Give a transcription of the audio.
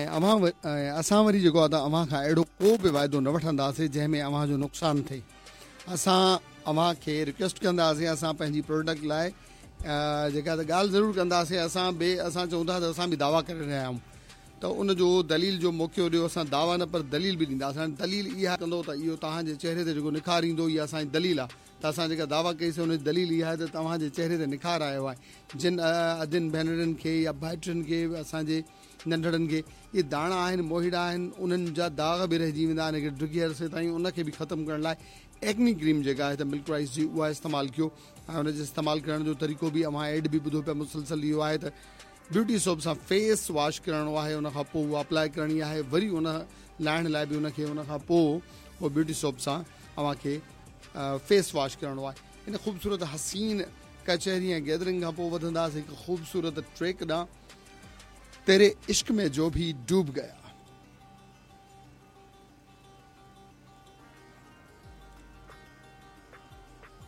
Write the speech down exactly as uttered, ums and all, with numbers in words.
۽ اوهان ۽ اسان وري جيڪو آهي ته اوهان کان اهڙو ڪو به واعدو نه وٺنداسين جنهن ۾ اوهان جو نقصان ٿئي. اسان اوهان کي رڪويسٽ ڪنداسين، اسان پنهنجي پروڊڪٽ لاء جيڪا ته ڳالهه ضرور ڪنداسين. اسان به اسان چئون ٿا ته اسان به دعويٰ ڪري رهيا آهيون ته ان جو دليل جو موقعو ڏيو. اسان دعويٰ نه پر دليل به ڏينداسين. هاڻي دليل اها ڪندو ته اهو توهان جي چهري تي جيڪو نکار ايندو، اها اسان جي دليل آهي ته اسان جيڪا دعويٰ ڪئي سي ان جي دليل اها آهي ته توهان جي چهري تي نکار آيو آهي. جن ادين ڀينرن کي يا ڀائٽين کي، اسان جي ننڍڙن کي اهي داڻا آهن، موهيڙا آهن، انهن جا داغ به رهجي ويندا آهن هڪ ڊگهي عرصي تائين. ان کي به ختم ڪرڻ لاء ايڪني ڪريم جيڪا آهي ته ملڪ رائس جي، اها استعمال ڪيو ۽ ان جي استعمال ڪرڻ جو طريقو به اوهان ايڊ به ٻڌو پيا مسلسل، اهو آهي ته بيوٽي سوپ سان فيس واش ڪرڻو آهي، ان کان پوء اها اپلائي ڪرڻي آهي، وري ان لاهڻ لاء به ان کي ان کان پوء اهو بيوٽي سوپ سان اوهان کي فيس واش ڪرڻو آهي. ان خوبصورت حسين ڪچهري ۽ گيدرنگ کان پوء وڌنداسين هڪ خوبصورت ٽريڪ ڏانهن، تيري عشق ۾ جو ڀي ڊوب گيا.